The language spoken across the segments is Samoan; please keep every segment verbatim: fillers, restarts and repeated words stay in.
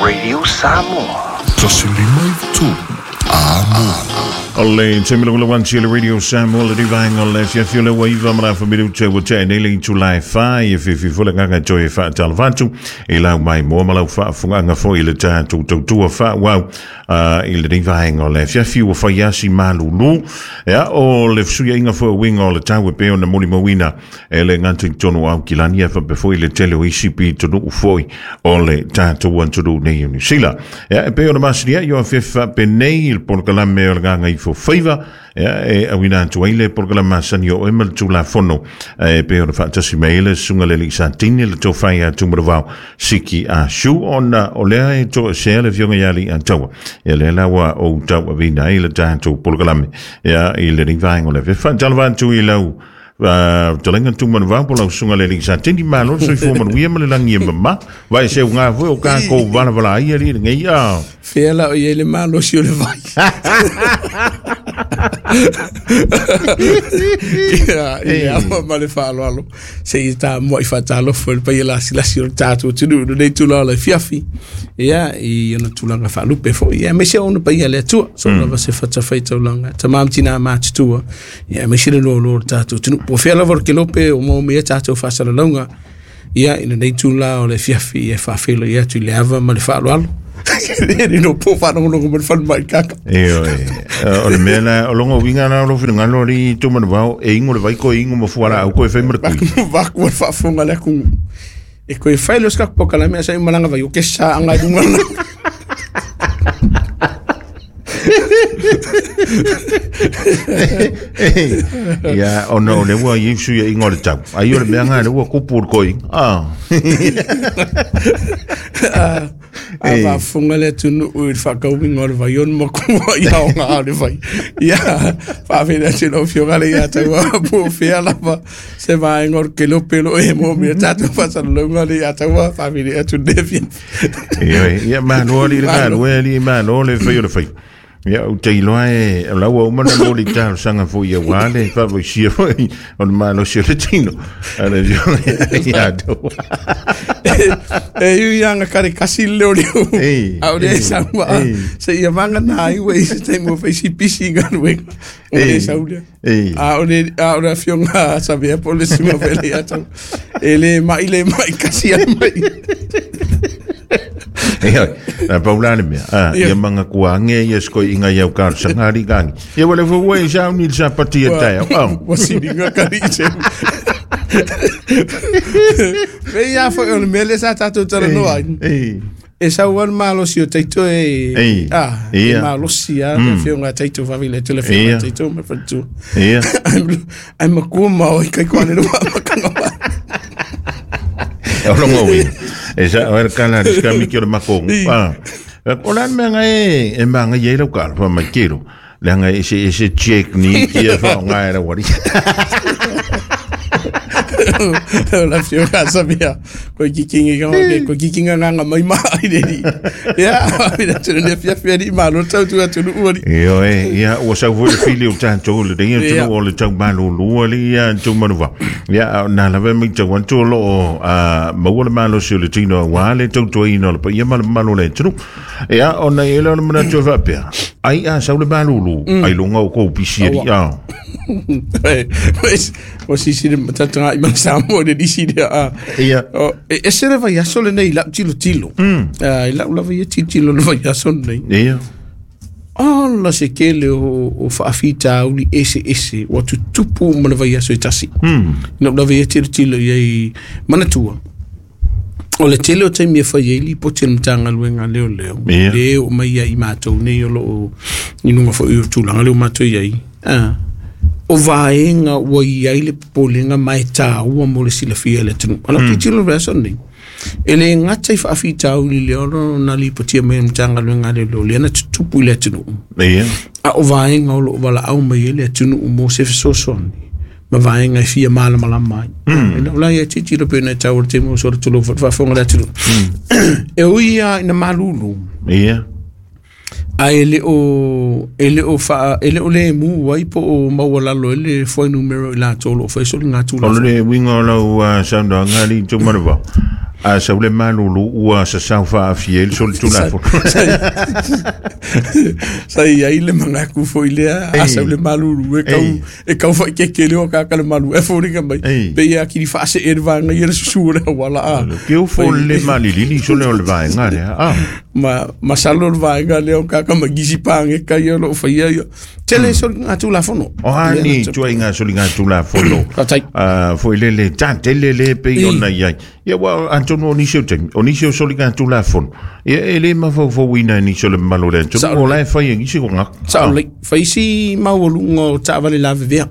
Radio Samoa. O le taimi le Radio Samoa le divaenga o le afiafi o le ua iva ma le afa minuta ua tea nei le itula e fa e fiafi foi le agaga toe e faatalofa atu i lau maimoa ma lau faafofogaaga foi i le tatou tautua faaauau i lenei vaega o le afiafi ua fai asi malulu. Ia o le fesuiaiga foi o uiga o le tau e pei ona molimauina e le gata i totonu o Aukilani e faapea foi le tele o isi pitonuu foi o le tatou atunuu nei o Niu Sila. Ia e pei ona masani ai o afiafi faapenei i le polokalame o le Gagaifo Faiva, ia e auina atu ai le polokalame masani o oe ma le Tulafono e pei ona faatasi mai ai le susuga le alii Satini le tofai a Tumalavao Siki a Su ona o lea e toesea le afioga ia Alii Ataua. Ia lea la ua ou tauaveina ai le tatou polokalame ia i lenei vaega o le afiafi. Faatalofa atu i lau fetalaiga Tumalavao po o lau susuga le alii Satini, malo le soifua manuia ma le lagi e mama. Vai se uga foi o kākou valavala ai alii lenei a. Fea la o i ai le malosi o le vai. Ia, i le ava ma le faaaloalo. Se i tā mua i faatalofa i le paia lasilasi o le tatou atunuu i lenei tulaga o le afiafi. Ia, i ona tulaga faalupe foi. Ia, aemaise ona paia le Atua. So lava se fatafaitaulaga. Tama ma tina matutua. Ia, aemaise le loaloa o le tatou atunuu. Po o fea lava o le kelope o maua mai ai tatou faasalalauga. Ia, i lenei tulaga o le afiafi, ia faafeiloai atu i le ava ma le faaaloalo. Le no po whanongonongo ma le whanumai kaka. E oe, o le mea la, o longa uiga la o lou finagalo alii Tumalavao, e ingo le vai koe ingo ma fualaau koe fai ma le kui. Vaku o le faafofoga le aku. E koe fai leo sikaku pokalame a sa i malanga vai o ke sa anga i lunga na. Ia, ona o le ua i sui e ingo le tau. Ai o le mea ngā le ua kupu o le koi. Ah. A faafofoga le atunuu i le faakauiga o le vai ona makua i aoga o le vai. Ia, faafeiloai atu i lau afioga le ia taua po o fea lava se vaega o le kelope lo e mo mea tatou faasalalauga le ia taua faafeiloai atu i lenei afiafi. Ioe, ia malo alii le galue alii malo le fai o le fai. Ia, ou te iloa e o lau ua uma ona moli talosaga foi auā le faavaisia foi o le malosi o le tino. A le afioga ia taua. E iu ia anga kare kasi le leo leo. Ei, A o lea e ei, saua. ei. Se ia vanga nā ai ua i se taimi ua fai si pisi i galuega. O Ei, le sau lea. ei. A o le, a o le afioga a Savea po o le susuga foi le ia taua. E le mai le mai kasi ai mai. Ia, na pau la le mea. Ah, Ia. ia manga kua ange ia sko inga iau talosaga alii kangi. Ia wale fo ua i sauni le sapati e taeao. Ah. Ua siliga kari i se. Me ia foi o le mea lea sa tatou talanoa ai. Ei. E sau ai le malosi o Taito e Ei. ah, e Ia. malosi a le afioga a Taito faafeiloai atu le afioga Ia. a Taito ma le faletua. Ia. Ai makua ma oi kai koa le lua makanga wa. O longa uiga. E sa o le kala le skami ki o le makongo. Ei. Ah. O la mea ngai e e manga i lau kala fa mai kero. Le anga e se e se check ni ki e fa ngai la wari. O la afioga a Savea. Koe kikinga ka ke koe kikinga nganga mai ma ai le ni. Ia, faafeiloai atu i lenei afiafi alii malo le tautua atunuu alii. Ioe, ia ua sau foi le fili o tatou le nei Ia. atunuu o le tau malulu alii ia Tumalavao. Ia na lava e matau atu o loo a maua le malosi o le tino auā le tautuaina o le paia ma le mamalu o le atunuu. Ia ona i ai lea o le manatu e faapea. Ai a sau le malulu ai luga o kou pisi alii. Ah. O sisi le matataga i mana Samoa le nisi lea. Ah. Ia. O, e ese le vaiaso lenei i lau tilotilo. Ah, i lau lava ia tilotilo le vaiaso lenei. Ia. Ola se kele o, o faafitauli ese ese ua tutupu ma le vaiaso e tasi. Mm. I lau lava ia tilotilo i ai manatua. O le tele o taimi e fai ai lipoti a le Matagaluega a leoleo. Ia. Le oo mai ai i matou nei o loo i luga foi o tulaga lea ua matou i ai. Ah. O vaega ua i ai le popolega ma e tāua mo le silafia e le atunuu. A lau tilotilo le vaiaso lenei. E le gata i faafitauli lea ona na lipotia mai e le Matagaluega a leoleo lea na tutupu i le atunuu. Ia. A o vaega o loo valaau mai ai le atunuu mo se fesoasoani ma vaega e fia malamalama ai. E lau la ia tilotilo pe na e tau o le taimi o sola tulou faafofoga le atunuu. E ui lava ina malulu. Ia. Ae le o e le o faa e le o le mu ai po o maualalo e le fuainumera i latou o loo fai soligatulafono. O le uiga o lau saunoaga alii Tumalavao. A sau le malulu ua sa sau faafia i le solitulafono. Sa i ai le mangaku foi lea, a sau le malulu e kau e kau fai ke ke leo ka ka le malu e foliga mai. Pe ia kiri faase e vaenga ia le susu le wala a. Ke o fo le malilili so le o le vaenga lea. Ah. Ma masalo le vaenga lea o ka ka magisi pange ka ia lo faia ia. Tele soligatulafono. O ani tuaiga soligatulafono. Ah foi le le tele le pe ona ia. Ia wa Antonio nisi o taimi, o nisi o soligatulafono. Ia e le mafaufauina nisi o le mamalu o le atunuu, o la e fai e nisi o gaka. Sao lelei, fai si maualuga o taavale lavevea.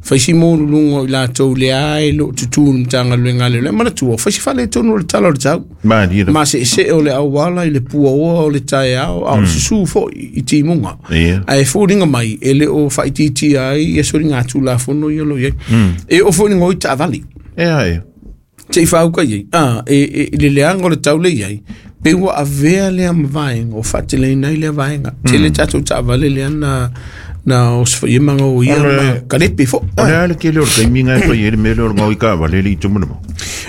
Fai si maualuluga o i latou lea e loo tutū le Matagaluega a le le manatua, fai si faaletonu o le tala o le tau. Ma seesee o le auala i le puaoa o le taeao, a o le susū foi i timuga. Ae foliga mai, e le o faaitiitia ai ia soligatulafono ia o loo i ai. E oo foi i le goi taavale. Ea ea. Te i whauka iei. Ah, e, e, le leanga o le taule iai, pe ua avea lea ma vaenga, o whaateleina i lea vaenga. Mm. Tele tātou taavale lea na, na o sawhai manga o ia ma kalepe fo. O le ale ke leo le taimi ngai whai e le mele o le ngau i ka vale le i tumuna mo.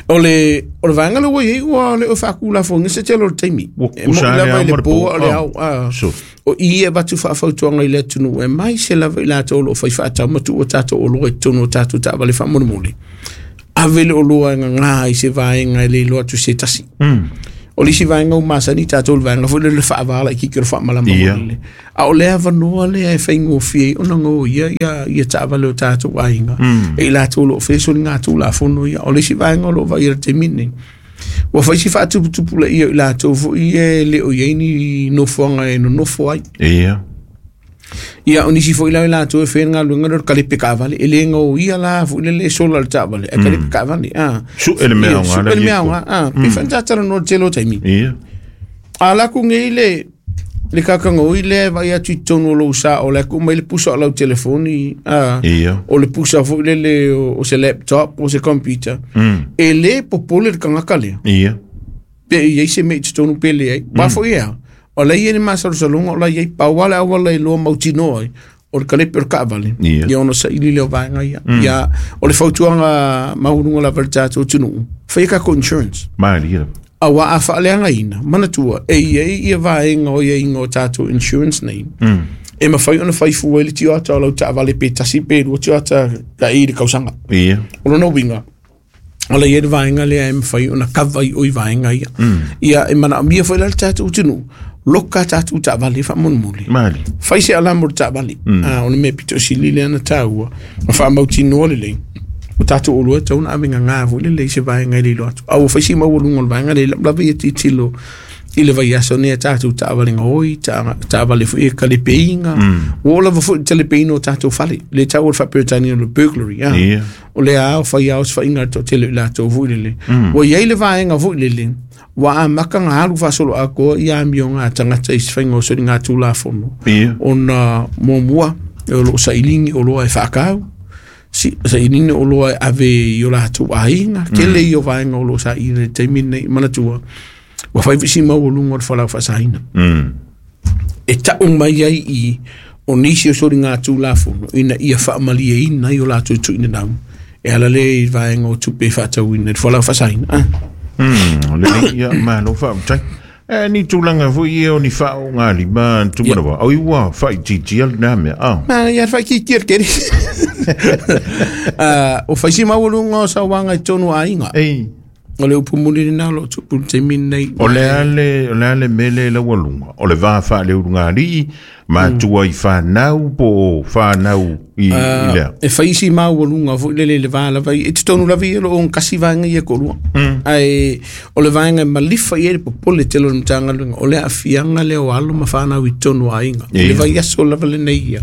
O le, o le vaenga le ua iei ua le o whaakula fo ngese te lo le taimi. E mo i lava i le pōa o le au. Ah. O i e watu whaafautuanga i le tunu e mai se lava i lātou o lo whai whaatau matu o tātou o loa i tonu o tātou taavale whaamolemole. Ave le oloa e ngā i se vaenga e le iloa atu se tasi. Mm. O le isi vaenga o masani tātou le vaenga foi le le faavala i kiki o le faamalama yeah. le. A o lea avanoa lea e faigofie ai ona gō ia ia ia taavale o tātou aiga. Mm. E i latou o loo faia soligatulafono ia. O le isi vaenga o loo vaai le taimi lenei. Ua fai si faatuputupu laia i latou foi e le o iai ni nofoaga e nonofo ai. Ia. Ia o nisi foi la i latou e faia le galuega lea o le kalepe kaavale e le gōia la foi le le sola le taavale e kalepe kaavale a Suʻe le mea aoga suʻe le mea aoga a pe faatatala le tele o taimi. Ia. A laku nei le le kakagoi lea e vaai atu i totonu o lou sa o le aku mai le pusa o lau telefoni a Ia. o le pusa foi lele o se laptop o se computer. E le popole le kagaka lea. Ia. Pe i ai se mea i totonu pe leai. Ua foi ea. O la ia ni masalosaloga o la iai pau ale auala i loa mautinoa ai o le kalepe o le kaavale. Ia. Ia ona saili lea o vaega ia. Ia o le fautuaga maualuga lava i le tatou atunuu, faia takou insurance. Malie. Auā a faaleagaina, manatua, e iai ia vaega o iaiga o tatou insurance nei. Mm. E mawhai ona whai fua i le tioata o lau taavale pe tasi pe lua tioata ka i le kausaga. Ia. O lona uiga, o la ia le vaega lea e mawhai ona kava i oi vaega ia. Ia e manaomia foi la le tatou atunuu, loka tatou taavale faamolemole. Malie. Fai se alamu o le taavale. Ah, o le mea pito sili lea na tāua. Ma faamautinoa lelei. O tatou oloa e tau na ave gagā foi lelei se vaega i le iloa atu. A ua fai si maualuga o le vaega lea i lau lava ia tilotilo i le vaiaso nei a tatou taavale gaoi, taavale foi e kalepeiga. Ua oo lava foi i le talepeina o tatou fale. Le tau o le faaperetania o le burglary. Ah. Ia. O lea a o fai ao se faiga a le toatele i latou foi lele. Ua iai le vaega foi lele. Ua amaka ga alu faasolo akoa ia amioga a tagata i se faiga o soligatulafono. Ia. Ona muamua o loo sailigi oloa e faakau. Si, sailigi oloa e ave i o latou aiga. Tele ia o vaega o loo saili i le taimi lenei manatua. Ua fai visi maualuga o le falau faasaina. Mm. E tau mai ai i o nisi o soligatulafono ina ia faamalieina ai o latou tuuina nau. E ala lea i vaega o tupe e faatauina i le falau faasaina. Ah. Mm, o le ia malo faafetai. E ni tulaga foi ia o ni faaogalima tumana wa. Oi ua faaitiitia lena mea. Ah. Ma ia faaitiitia le kele. Ah, o fai si maualuga o sauaga i totonu o aiga. Ei. O le upu muli lena o loo tupu i le taimi lenei. O le ale, o le ale mele laualuga. O le va faaleulugalii, matua i whanau po o whanau i, i lea. E fai si maualuga foi lele le va lava i e totonu lava ia loo kasi vaega ia koʻolua. Ae o le vaega e malifa i ai le popole tele o le Matagaluega o le aafiaga lea o alo ma whanau i totonu o aiga. Ia. Le vaiaso lava lenei ia.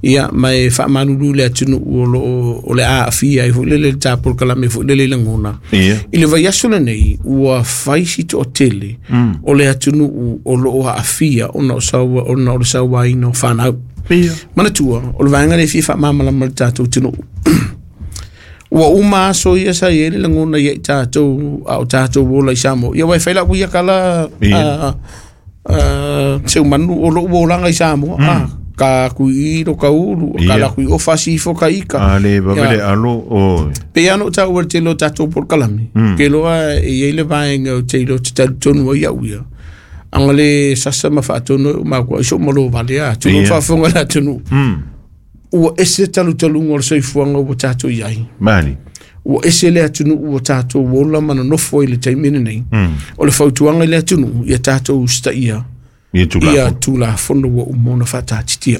Ia ma e faamalulu le atunuu o loo o le aafia ai foi lele le tapolokalame foi lele i lagona. Ia. I le vaiaso lenei ua fai si toatele o le atunuu o loo aafia ona o saua ona o le sauaina o whanau. Ia. Manatua, o le vaega lea e fia faamalamalama le tatou atunuu. Ua uma aso ia sa i ai le lagona ia i tatou a o tatou ola i Samoa. Ia ua e fai lau ia kala Ia. a, a, seumanu o lou olaga i Samoa. Ah, Ka kui ro ka ulu ka la kui o fasi fo ka ika. Ale vavele alo o. Pe ano ta ua te lo tatou por kalami. Ke loa e i le vaenga o te lo te tonu ai au ia. Anga le sasa ma faatono ma kua iso malo vale a. Tunu faafonga la tunu. Ua ese talu talunga o le soifuaga ua tatou i ai. Mali. Ua ese le atunuu ua tatou ola ma nonofo i le taimi lenei. O le fautuaga i le atunuu ia tatou usitaia ia tulafono ua uma ona faataatitia.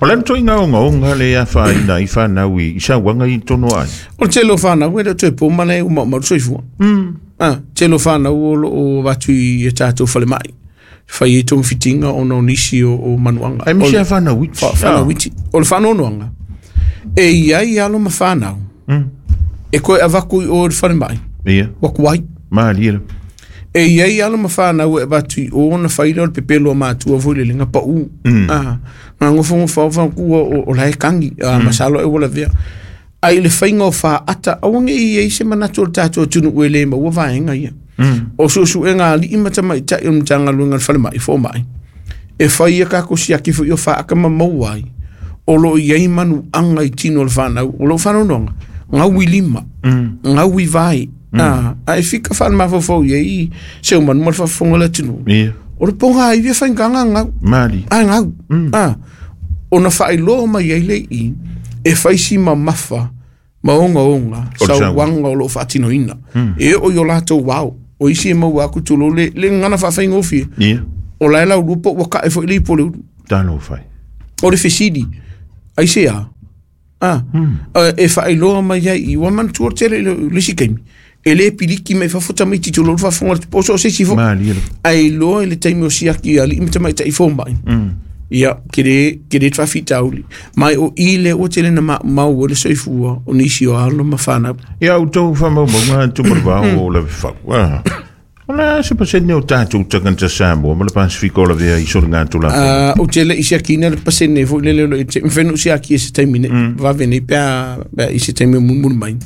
O le toiga ogaoga le afaina i fanau i sauaga i tonu ai. O le tele o fanau e le o toe po ma le umaumau le soifua. Ah, tele o fanau o loo avatu i e tatou falemai. Fai ai togafitiga ona o nisi o, o manuaga. Ai misi a fanau iti. Fanau iti. O le faanoanoaga e iai alo ma fanau. E koe avaku i o le falemai. Ia. Ua kuai. Malie. E iai alo ma fanau e avatu i o na faila o le pepelo a matua foi le lega pau. Ah, nga ngofongofa o faakua o, o lae kagi. Ah, masalo e ua lavea. Ai le faiga o faata aua nei i ai se manatu o le tatou atunuu e lē maua vaega ia. O suesuega alii ma tamaitai o le Matagaluega le falemai fomai. E fai ia kako siaki foi o faaka ma maua ai. O loo iai manuaga i tino o le fanau. O loo faanoanoaga gaui lima. Gaui vai. Ah, ae fika faalemafaufau iai se o manu ma le faafofoga le atunuu. O le poga ai ia faigaga gau. Mali. Ae gau. Ah, ona faailoa mai ai le i e faisi mamafa ma ogaoga sauaga o loo faatinoina. E oo i o latou ao. O isi e maua aku tulou le le gagana faafaigofie. O lae laulua po ua kae foi le ipu o le ulu. Talofa. O le fesili ai se a. Ah, e faailoa mai ai i ua manatua le tele i le isi taimi. E lē piliki mai fafo tamaiti tulou le faafofoga le po so o se isi foi. Ae iloa i le taimi o siaki alii ma tamaitai fomai. Ia, ke le ke le faafitauli. Mai o i le ua tele na maumau ai le soifua o nisi o alo ma fanau. Ia outou faamaumauga tumalevao o le fau. O le a se pasene o tatou tagata Samoa ma le Pasifika o lavea i soliga tulafono. Ou te le'i siakiina le pasene foi lele o loo te mafai ona ou siaki e se taimi nei. Vave nei pe a i se taimi o mulimuli mai.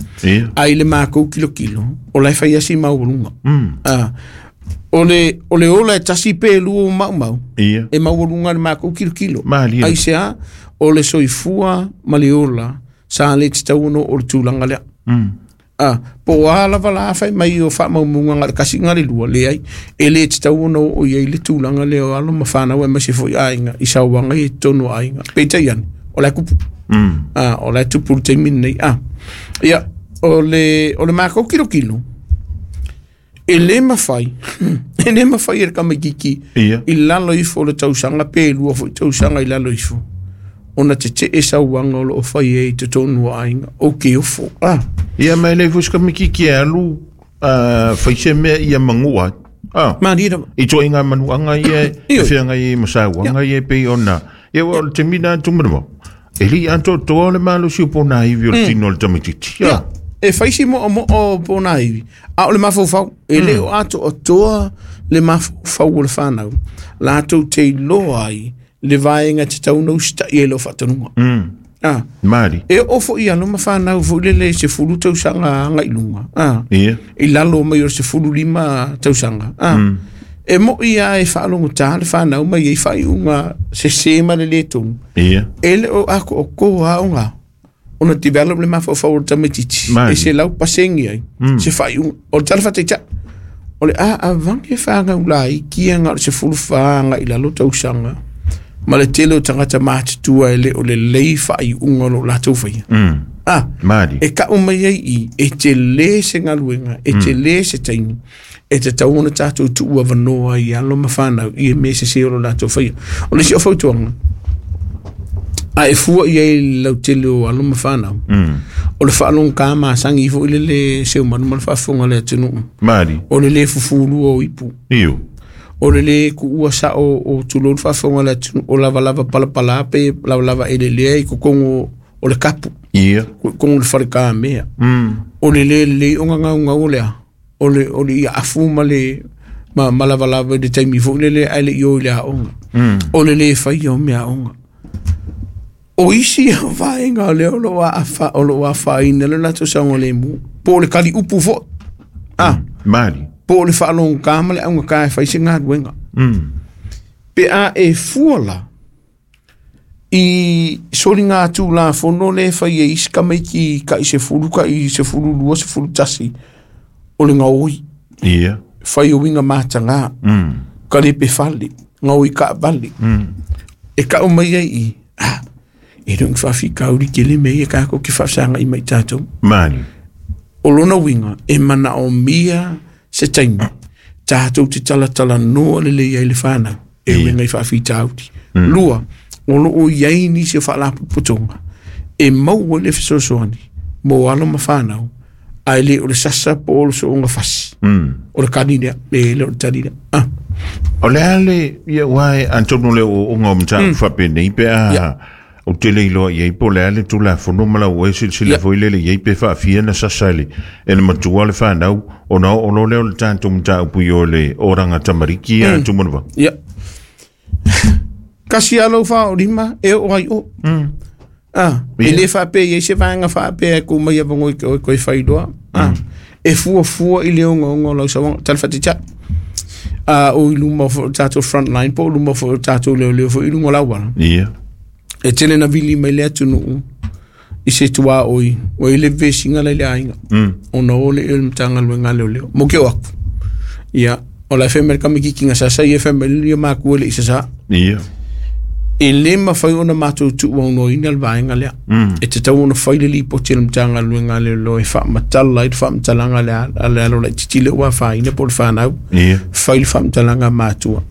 Ae i le makou kilokilo o lae fai asi maualuga. Ah, o le o le ola e tasi pe lua o maumau. E maualuga le makou kilokilo. Ai se a o le soifua ma le ola sa le tatau ona oo le tulaga lea. Ah, po o a lava la fai mai o faamaumauga ga le kasi ga le lua leai e lē tatau ona oo i ai le tulaga lea o alo ma fanau aemaise foi aiga i sauaga ia i totonu o aiga. Peitai ane o lae kupu. Ah, o lae tupu le taimi lenei. Ah, ia o le o le makou kilokilo e lē mafai e lē mafai e le tamaititi i lalo ifo o le tausaga pe lua foi tausaga i lalo ifo ona tetee sauaga o loo fai ai i totonu o aiga ou ke ofo. Ah, Ia ma e le foi se tamaititi e alu fai se mea ia magua. Ah, malie lava. I toaiga manuaga ia e feagai ai ma sauaga ia e pei ona. Ia ua o le taimi lena tumalevao. E lei atoatoa le malosi o pona ivi o le tino o le tamaititi. Ia, e fai si moomoo o pona ivi. A o le mafaufau, e le o atoatoa le mafaufau o le fanau. Latou te iloa ai le vaega tatau ona usitai ai loo faatonuga. Ah, Mali. e oo foi alo ma fanau foi lele i sefulu tausaga agai luga. Ah, Ia. i lalo mai o le sefulu lima tausaga. Ah, e moi lava e faalogotā le fanau mai ai faaiuga sesē ma le lē tonu. Ia. E le o akoakoa aoga ona develop le mafaufau o le tamaititi. E se lau pasegi ai se faaiuga. O le tala faataita'i o le a avage fagau laiki aga o le sefulu fa agai lalo tausaga. Ma le tele o tagata matutua e le o lelei faaiuga o loo latou faia. Ah, Mali. e ka'u mai ai i e telē se galuega e telē se taimi e tatau ona tatou tuu avanoa ai alo ma fanau i e mea sesē o lo latou faia. O le isi o fautuaga a e fua i ai le lautele o alo ma fanau. O le faalogogā masagi foi lele se o manu ma le faafofoga le atunuu. Mali. O le lē fufulua o ipu. Io. O le lē kuua sao o tulou le faafofoga le atunuu o lavalava palapalā pe lavalava elelea i totogu o le kapu. Ia. Kogo le falekamea. O le lē lelei o gagaugau o lea. O le o le iaafu ma le ma, ma lavalava i le taimi foi lele ae le'i o i le aoga. O le lē faia o mea aoga. O isi vaega o lea o loo aafa o loo afaina le latou saogalemu. Po o le kali upu foi. Ah, Mali. po o le faalogogā ma le augakā e fai se galuega. Pe a e fua la I solinga atu la fono le fai e isi kamaiti ka i se fulu ka i se fulu lua se fulu tasi o le ngaoi. Ia. Fai o winga matanga. Mm. Ka le pe fale. Ngaoi ka vale. Mm. E ka o mai ai i. Ah, e rung whawhi kauri ke le mei e kako ki whawsanga i mai tātou. Mani. O lona winga, e mana o mia se taimi. Tātou te talatala noa le lei ai le whanau. E Ia. winga i whawhi tāuti. Mm. Lua, o lo o iai nisi o whaalapotopotonga. E maua le fesoasoani, mō alo ma whanau, ai le o le sasa po o le soonga fasi. Mm. O le kanina, e le o le tanina. Ah. O le ale, ia wai, antonu le o unga o mta mm. whape nei pe a Ia. o te le iloa iai po le ale tu la fono mala o e silsila Ia. foi lele iai pe whaafia na sasa le e le matua le whanau o na o lo leo le tātou mta upu i o le oranga tamariki a mm. tumanua. Ia. Kasi alo wha o rima, e o ai o. Mm. Ah, e Ia. le whape, e se vaenga whape e ko mai avango i koe koe whailoa. Ah, e fua fua i le onga onga o lau sawanga, talawhati tia. Ah, o i luma fo tātou frontline, po o luma fo tātou leo leo fo i lunga lauala. Ia. E tele na vili mai le atunuu i se tua oi, o i le vesinga lai le ainga. Mm. O na ole e le mtanga luenga leo leo. Mo ke o aku. Ia, o la F M ka miki kinga sasa i F M le maku le i sasa. Ia. E le mawhai ona mātou tua ono ina le vaenga lea. Mm. E te tau ona whai le lipo te le mtanga luenga leo leo e whaamatala i le whaamatalanga le a le alo lai titile ua whaina po le whanau. Ia. Whai le whaamatalanga mātua.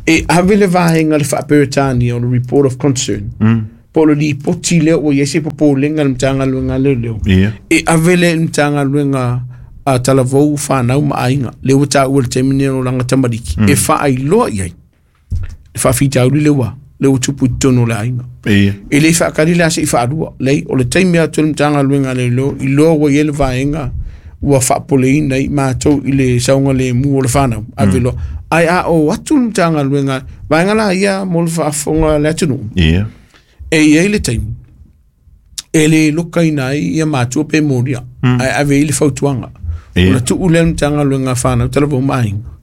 E ave le vaenga le whaaperetania o le report of concern. Mm. Po le lipo tile o iese po po lenga le mtanga luenga leo leo. Ia. E ave le mtanga luenga a talavou whanau ma ainga. Le ua tā ua le temine o langa tamariki. Mm. E whaailoa iai. E whaawhitauri le ua. Le ua tupu i tonu le ainga. Ia. E le whaakari le ase i whaarua. Lei, o le taimi atu le mtanga luenga le leo, i loa ua i ele vaenga, ua whaapoleina i mātou i le saunga le mu o le whanau. Ave loa. Ai a o atu le mtanga luenga, vaenga la ia mo le whaafonga le atunu. Ia. E i ai le taimi, e le lokaina ai ia mātua pe moria. Mm. Ai ave i le fautuanga. Ia. O la tuu le mtanga luenga whanau, tala vau mahinga.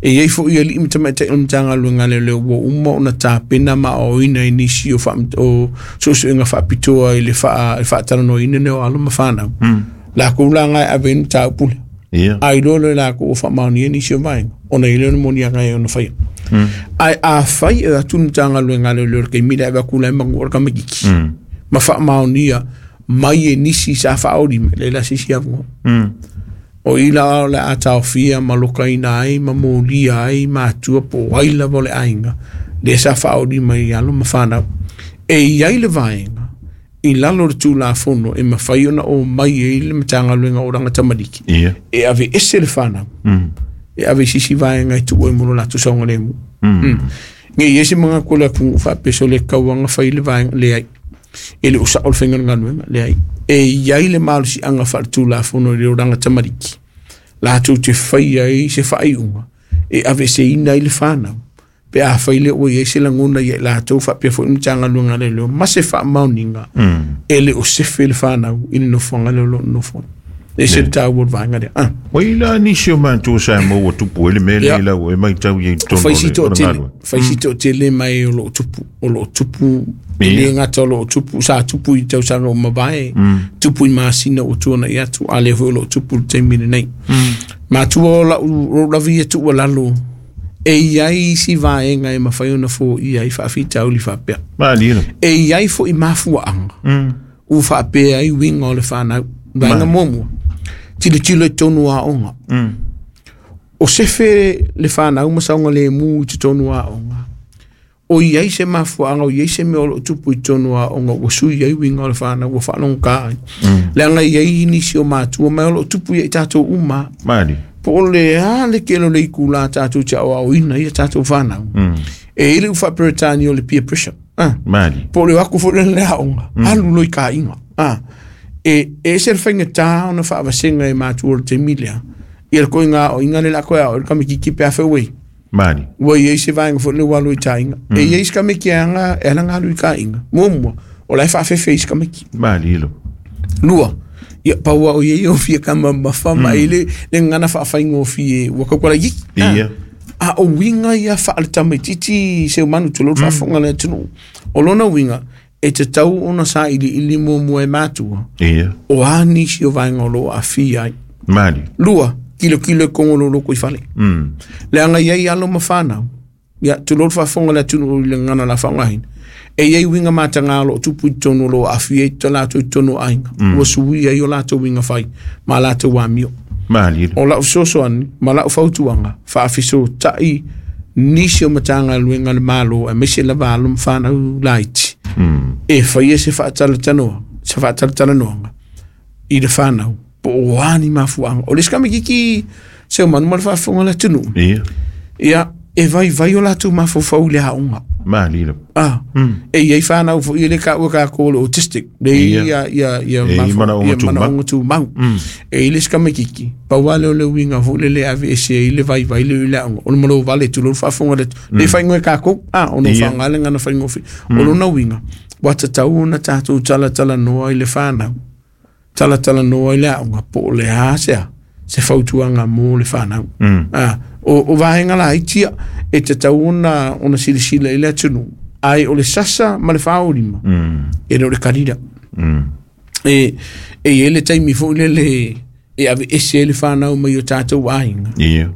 E iei fo ia li mta mata o mtanga luenga le leo ua uma o na tāpena ma o ina i nisi o, wha, o susuinga whaapitoa i le wha, i whaatalanoa ina neo alo ma whanau. Mm. La kou la ngai ave ina tā upule. Ia. Ai loa le la kou o whaamaoni e nisi o vaenga. Ona i leo na moni anga e ona whaia. Mm. Ai a whai e atu mtanga luenga le leo kei mira ewa kula e mangu ora kamakiki. Mm. Ma whaamaoni ia mai e nisi sa whaori me le la sisi avunga. Mm. O ila o le ataofia ma lokaina ai, ma mōlia ai, ma atua po ai lava o le ainga. Le sa whaori mai alo ma whanau. E iai le vaenga, i lalo le tūlafono e mawhai ona o mai e i le matanga luenga o ranga tamariki. Ia. E ave ese le whanau. Mm. E ave sisi vaenga i tuu e molo latu saunga le mu. Mm. Mm. Nge i ese mga kula kungu whaapeso le kauanga whai le vaenga le ai. E le usa o le whenga ngaluenga le ai. E iai le malusi anga wha tūlafono i le oranga tamariki. Lātou te whai ai se whaiunga. E ave se ina i le whanau. Pe a whai le oi e se langona i e lātou whapea fo imtanga luenga le leo. Ma se whaamauninga. Mm. E le o sefe le whanau i le nofoanga le lo nofoanga. E se tā ua vaenga lea. Ah. Wai la nisi o mātua sa mō ua tupu ele me le Ia. lau e mai tau i tono Whai le si tō o le tele. ngalua. Whai si tō tele mai o loo tupu. O loo tupu. E Ia. le ngata o loo tupu. Sa tupu i tausaga o mawae. Tupu i māsina o tuana i atu. A le hoi o loo tupu le taimi nei. Mātua o lau o lavi e tua lalo. E iai si vaenga e mawhai ona fo i ai whaawhita uli whapea. Maali ina. E iai fo i mafua anga. Mm. U whapea i winga o le whanau. Vaenga muamua. Tilo tilo i tonu a onga. Mm. O sefe le whanau masaunga le mu i te tonu a onga. O iai se mafuanga, o iai se mea o lo tupu i tonu a onga, ua sui ai winga o le whanau, ua whanonga ka ai. Mm. Leanga iai nisi o mātua, mai o lo tupu i tātou uma. Maali. Po o le a le kelo le ikula tātou te au au ina ia tātou whanau. Mm. E ile uwha peretani o le peer pressure. Ah. Maali. Po o le wako fo le lea onga. Mm. Alu loi ka inga. Ah. E, e se le whainga tā ona whaavasenga e mātua o le te milea. I le koe ngā o inga le la koe au, le kame ki kipe a whewei. Maali. Ua i se vaenga fo le walu i tā inga. Mm. E i se kame ki anga, e ala ngā lui ka inga. Mua mua, o lai whaafefe i se kame ki. Maali ilo. Lua, ia paua o iei o fia kama mawha ma mm. le, le ngana whaawhainga o fie, ua kaukwala yiki. Ia. A o uiga ia faaletamaititi seumanu tulou le faafofoga le atunuu. O lona uiga e tatau ona sailiili muamua e matua Ia. o a nisi o vaega o loo aafia ai. Mali. Lua, kilokilo e kogololo i fale. Mm. Leaga iai alo ma fanau. Ia, tulou le faafofoga le atunuu i le gagana la faaaogaina. E iai uiga matagā o loo tupu i totonu o loo aafia ai to latou i totonu o aiga. Ua suia ai o latou uiga fai ma latou amio. Mali. O lau fesoasoani ma lau fautuaga faafesota'i nisi o matagaluega le Malo aemaise lava alo ma fanau laiti. Mm. E faia se faatalatanoa, se faatalatalanoaga i le fanau po o a ni mafuaaga. O le isi tamaititi seumanu ma le faafofoga le atunuu. Ia. Ia, e vaivai o latou mafaufau i le aoga. Mali. Ah, e iai fanau foi e le taua tatou o le autistic. Le Ia. ia ia ia E i manaoga ia tumau. manaoga tumau. E i le isi tamaititi, pau lava lea o le uiga foi lele ave ese ai le vaivai le i le aoga. O le malo vale tulou le faafofoga le le faaigoa e tatou. Ah, ona o Ia. faaaoga le gagana faigofie. O lona uiga, ua tatau ona tatou talatalanoa i le fanau. Talatalanoa i le aoga po o le a sea se fautuaga mo le fanau. Mm. Ah, o, o vaega laiti ia e tatau ona ona silasila i le atunuu. Ai o le sasa ma le faaolima Mm. e le o le kalila. Mm. E, e i ai le taimi foi lele e ave ese ai le fanau mai o tatou aiga. Ia.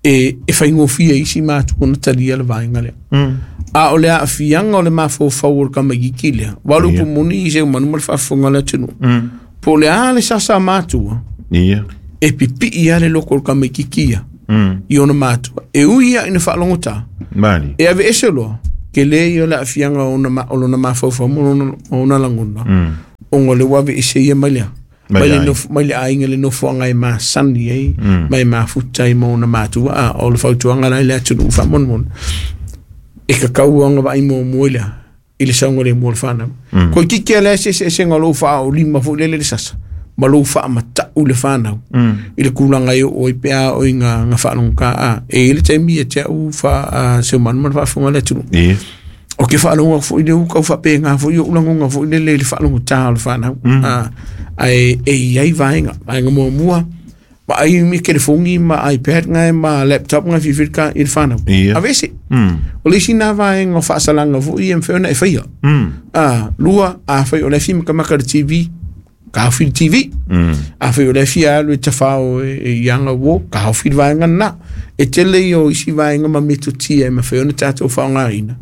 E, e faigofie isi matua ona talia le vaega lea. Mm. A o le aafiaga o le mafaufau o le tamaititi lea, ua le Ia. upu moni i seumanu ma le faafofoga le atunuu. Mm. Po o le a le sasa a matua, Ia. e pipii lava le loko o le tamaititi ia Mm. i ona matua. E ui ia ina faalogotā, Mali. e ave ese loa, ke le ia o le aafiaga o ona ma- o lona mafaufau ma lona, ma ona lagona, Mm. ona o le ua ave ese ia mai lea. Mai Mai le le aiga. nofo- mai le aiga le nofoaga e masani ai, Mm. ma e mafuta ai ma ona matua. A, o le fautuaga la i le atunuu faamolemole. E kakau aga vaai muamua i lea, i le saogalemu o le fanau. Mm. Koe kiki a lea se eseesega o lou faaolima foi lele le sasa, ma lou faamata'u le fanau. Mm. I le kulaga e oo ai pe a o i nga, nga faalogogā a. E i le taimi ia te au fa, a, seumanu ma le faafofoga le atunuu. Ia. O ke faalogo foi le uka faapega foi o ulagoga foi lele i le faalogotā o le fanau. Mm. A, ae e iai vaega, vaega muamua, vaai mi telefoni ma iPad ngai ma laptop ngai fifilika i le fanau. Ia. Aveese. Mm. O le isi na vaega o faasalaga foi e mafai ona e faia. Mm. A, lua, afai o le fia makamaka le T V, kaofi le T V. Mm. Afai o le fia alu e tafao e, e i aga uo, kaofi le vaega na. E tele ia o isi vaega ma metotia e mafai ona tatou faaaogaina.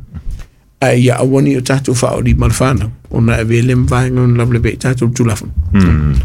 Ae ia aua ne i o tatou faaolima le fanau, ona e avea le vaega ona lavelave ai tatou le Tulafono. Mm.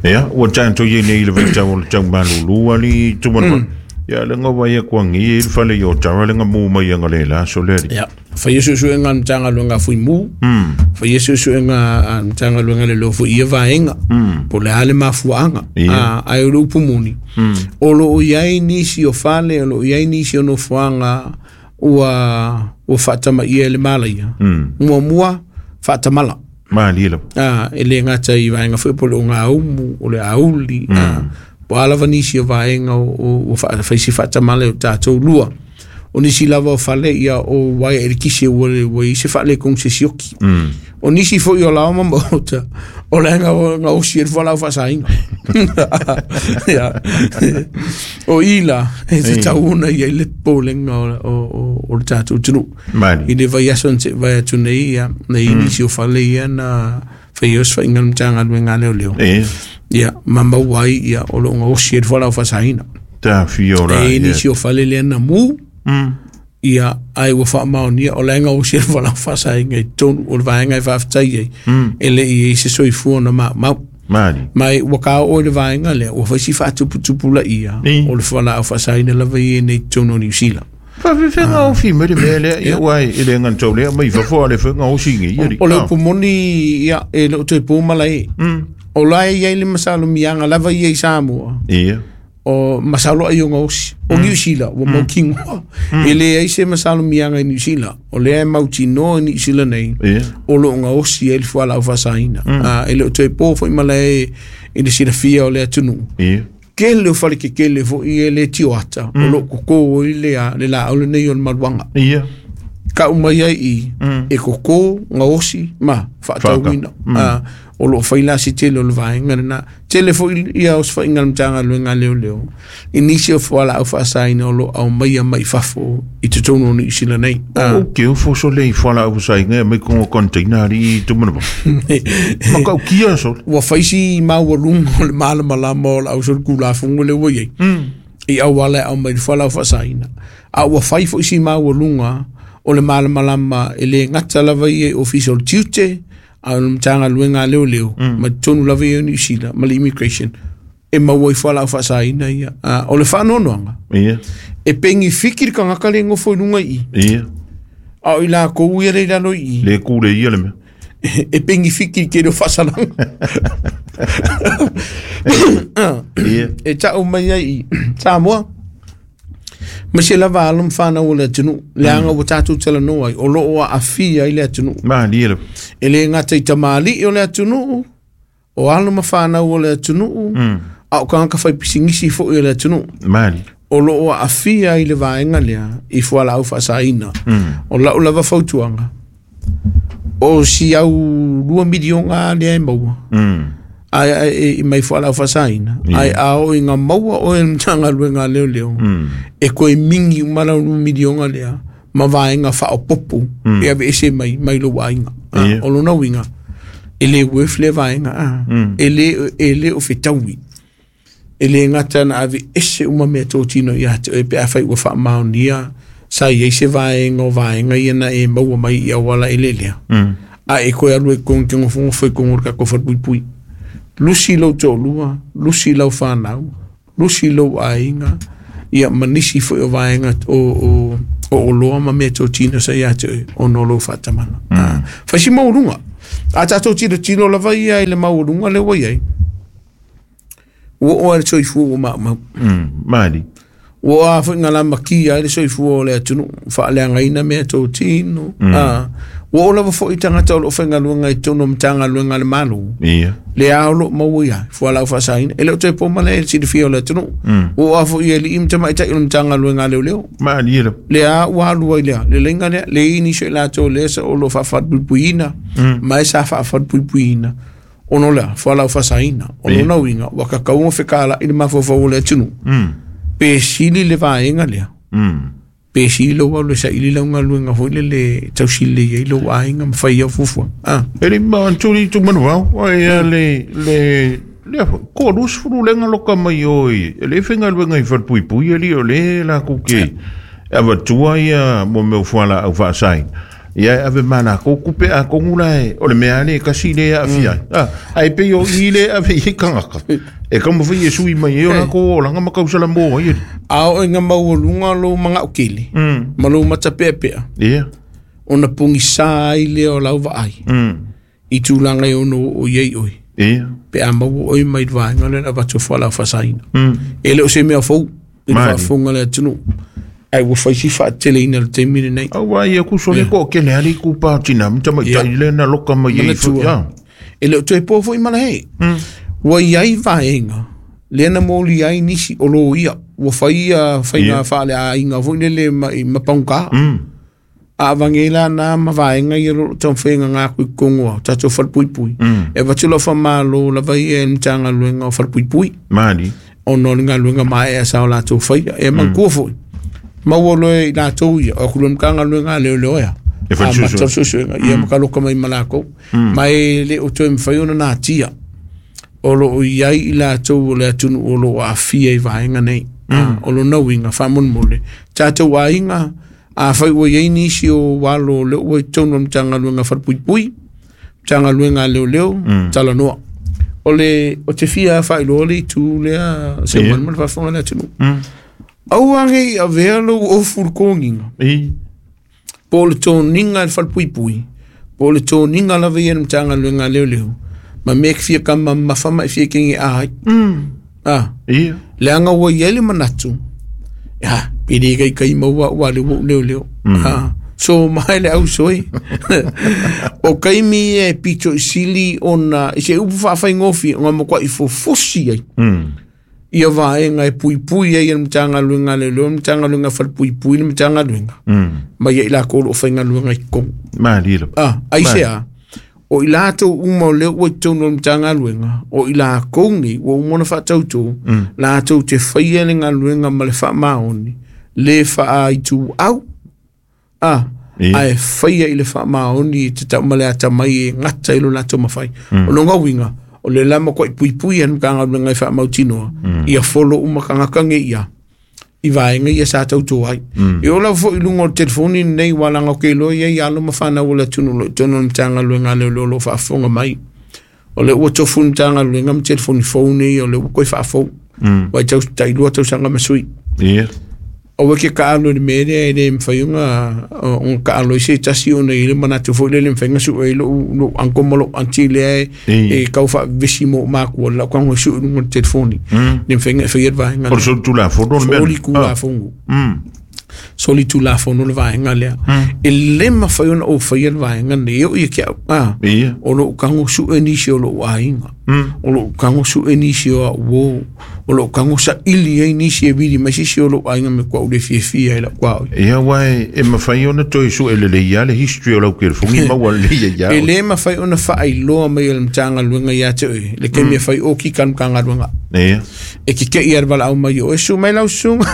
Ia, ua tatou iai nei i le vaitau o le taumalūlū ali tumanava. Ia, le ngawa ia kuangi i le fale i o tara le ngamu mai anga le la so le ali. Ia, faia suesuega a le Matagaluega a Fuimu, Mm. faia suesuega a le Matagaluega le lofo i ia vaega, Mm. po o le a le mafuaaga, Ia. a, ae o le upu moni. Mm. O loo iai nisi o fale, o loo iai nisi o nofoaga ua, ua faatamaia e le malaia. Mm. Muamua, faatamala. Mali lava. Ah, e le gata i vaega foi po o le ogaumu, o le auli, ah, po a lava nisi o vaega o, o, o fa, faisi faatamala e o tatou lua. O nisi lava o fale ia o waia e le kisi ua le ua i se faalekogu se sioki. Mm. O nisi foi o lao ma maota, o le nga nga osi e le fualaau faasaina. Ia. O ila, e tatau ona ia i le popolega o, o, o, o le tatou atunuu. Mali. I le vaiaso na se'i vai atu nei ia, nei mm. nisi o fale ia na faia osofaiga le Matagaluega a leoleo. Ia. Ia, ma maua ai ia o loo gaosi e le fualaau faasaina. Ta fia o la. E i nisi o fale lea na mu, Mm. ia ai ua faamaonia o le gaosi e le fualaau faasaina i totonu o le vaega e faafetai ai. Mm. E le'i ai se soifua na maumau. Mali. Mai ua kao'o i le vaega lea, ua faisi faatuputupulaia Ni. o le fualaau faasaina lava ia nei totonu o Niu Sila. Faafefega o fi mai le mea lea, ia ua e le ngantau lea, mai fafo a le whenga o singi, ia li. O le upu moni ia e le o toe pō malae. Mm. O la e iai le masalomiaga lava ia i Samoa. Ia. O masalo ai o gaosi. O Niu Sila, ua mautinoa. E leai se masalomiaga i Niu Sila. O lea e mautinoa i Niu Sila nei. Ia. O loo gaosi ai le fualaau faasaina. Ah, e le o toe pō foi malae i le silafia o le atunuu. Ia. Kele o fale kekele foi e le tioata. O loo koko ai le a- le laau lenei o le maluaga. Ia. Kau mai ai i Mm. e koko gaosi ma faatauina. Mm. Ah, O loo faila si tele o le vaega lena tele foʻi ia osofaiga a le Matagaluega a Leoleo i nisi o fualaau faasaina o loo aumaia mai fafo i totonu o Niu Sila nei. O ke ofo so le i fualaau faasaina e mai kongo container ali i tumana ma kau kia so ua faisi maualuga o le malamalama o le ausolikulafono le ua iai i auala e aumai le fualaau faasaina a ua fai foʻi si maualuga o le malamalama e lē gata lava ia i ofisa o le tiute a o le Matagaluega a Leoleo ma totonu lava ia o Niu Sila ma le immigration e maua i fualaau faasaina ia. O le faanoanoaga ia e pegifiki le tagata le gofo i luga i ia a o i lakou ia le i lalo i le kule ia le mea e pegifiki i tele o faasalaga ia e taʻu mai ai i Samoa ma se lava alo ma fanau o le atunuu leaga ua tatou talanoa ai o loo aafia ai le atunuu malie le e lē gata i tamalii o le atunuu o alo ma fanau o le atunuu a o tagata faipisigisi foʻi o le atunuu mali o loo aafia ai le vaega lea i fualaau faasaina. O lau lava fautuaga o si au lua miliona lea e maua ai e mai fualaau faasaina ai a o iga maua oe le Matagaluega a Leoleo e koe mingi uma lau lua miliona lea ma vaega faaopopo e aveese mai mai lou aiga. O lona uiga e lē worth lea vaega a e lē e lē o fetaui e lē gata na aveese uma mea totino ia te oe pe afai ua faamaonia sa iai se vaega o vaega ia na e maua mai i auala e lelea a e koe alu e kogo te gofogofo i kogo o le tatou falepuipui lusi lou toalua lusi lau fanau lusi lou aiga ia ma nisi foʻi o vaega o o o oloa ma mea totino sa ia te oe ona o lou faatamala. Faisi maualuga a tatou tilotilo lava ia i le maualuga le ua iai ua oo ai le soifua ua maumau mali ua a foʻi galamakia ai le soifua o le atunuu faaleagaina mea totino a ua oo lava foʻi tagata o loo faigaluega i totonu o Matagaluega a le Malo ia le a o loo maua ia fualaau faasaina e le o toe po ma le silafia o le atunuu ua oo a foʻi alii ma tamaitaʻi o le Matagaluega a Leoleo malie le le a ua alu ai lea le leiga lea le ini so i latou lea sa o loo faafalepuipuiina ma e sa faafalepuipuiina ona o lea fualaau faasaina o lona uiga ua kakauga fekalaʻi le mafaufau o le atunuu pe sili le vaega lea pe sili lou alu e saili lau galuega foi lele tausilelei ai lou aiga ma fai au fuafuaga a e le ma antuli tu manuvao ai le le le ko lus fulu lenga loka mai oi le faigaluega i falepuipui ali o le la ku ke avatua ia mo mea fualaau faasaina ia ave mana ko kupe a kongu la e o le mea le kasi le afia ah ai pe o i le ave i kangaka e kama foi sui mai e o ko la ngama kausala mo ai a o nga maualuga lou magaʻu ma lou matapeapea ia ona pogisa ai lea o lau vaai i tulaga e ono o iai oe ia pe a maua oe mai le vaega lea na avatu fualaau faasaina e le o se mea fou i le faafofoga le atunuu ai ua faisi faateleina le taimi lenei aua ia ku so le ko ke le ali ku pa tina mta mai tai le na loka mai i ia e le o toe po foʻi malae ua iai vaega lea na moli ai nisi o lō ia ua fai ia faiga faaleaiga foʻi lele ma pagugā a avagela na ma vaega ia loo taumafaiga aku i kogo ao tatou falepuipui e avatu lau faamālō lava ia e le Matagaluega o Falepuipui mali ona o le galuega maeaea sa o latou faia e manatua foʻi maua loe i latou ia o aku le Matagaluega a Leoleo ea amata suesuega ia ma kaloka mai ma lakou ma e le o toe mafai ona natia o loo iai i latou o le atunuu o loo aafia i vaega nei. O lona uiga faamolemole tatou aiga afai ua iai nisi o alo o lea ua i totonu o le Matagaluega Falepuipui Matagaluega a Leoleo talanoa o le o te fia faailoa le itu lea seumanu ma le faafofoga le atunuu aua nei avea lou ofu le togiga po o le toniga i le falepuipui po o le toniga lava ia le Matagaluega a Leoleo ma mea ke fia kama mamafa ma e fia kege ai a leaga ua iai le manatu ia pe lē kaikai maua ua le ua ou leoleo a so mai le ausoi o kaimi e pito i sili ona i se upu faafaigofie ona matuaʻi fofosi ai ia vaega e puipui ai e le Matagaluega a Leoleo le Matagaluega Falepuipui le Matagaluega ma ia i lakou o loo faigaluega i totonu malie a ai se a O i latou uma o lea ua i totonu o le Matagaluega, o i lakou nei ua uma ona faatautō, latou te faia le galuega ma le faamaoni, le faaituau, a Ia. ae faia i le faamaoni e tatau ma le atamai e gata i lo latou mafai. O lona uiga, o le la matuai puipui a le Matagaluega e faamautinoa, ia folo uma tagata nei ia, i vaega ia sa tautō ai. E oo lava foi i luga o le telefoni lenei ua laga o ke iloa i ai alo ma fanau o le atunuu o lo o i totonu o le Matagaluega a Leoleo o lo o faafofoga mai. O lea ua tofu le Matagaluega ma telefoni fou nei o lea ua toe faafou. Ua i tau tailua tausaga ma sui. Ia. Aua ke taalo i le mea lea e le mafai ona ona taalo ai se tasi ona i ai le manatu foi lele e mafai ona sue ai lou lou uncle ma lou aunty lea e Ia. e tau faavesi mo matua lau tago e sue i luga o le telefoni. Le mafai ona e faia le vaega O le lea. solitulafono le mea. Solitulafono. Mm. Solitulafono le vaega lea. E le mafai ona ou faia le vaega lenei e oo ia te au. Ah. Ia. O lou tago sue nisi o lou aiga. O lou tago sue nisi o au uō. O lou tago saili ai nisi e vili mai se isi o lou aiga me kuaʻu le fiafia ai lau kuaoi. Ia aua e e mafai ona toe sue lelei lava le history o lau telefoni maua lelei ai E ia. le mafai ona faailoa mai e le Matagaluega ia te oe le taimi e fai o kika le Matagaluega. Ia. E kekeʻi a le valaau mai o e susu mai lau susuga.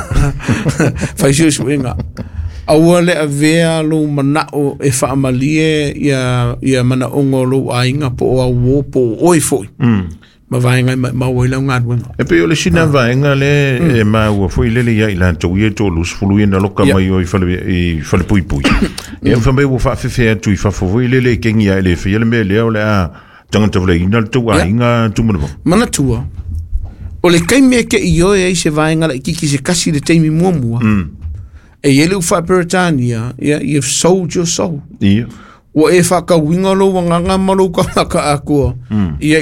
Fai suesuega. Aua le avea lou manao e faamalie ia, ia manaoga o lou aiga po o au uō po o oe foi. Ma vaega e maumau ai lau galuega. E pei o le sina vaega lea e maua foi lele ia i latou ia e toalusefulu ia na loka Ia. mai o i fale i falepuipui. Ia fai mai ua faafefe atu i fafo foi lele e kengi ae le faia le mea lea o le a tagata valeina le tou Ia. aiga tumanava. Manatua, o le taimi e ke i oe ai se vaega laitiiti se tasi le taimi muamua, e i ai le upu faa-Peretania, ia, you've sold your soul. Ia. Ua e faatauina lou agaga ma lou tagata atoa, ia i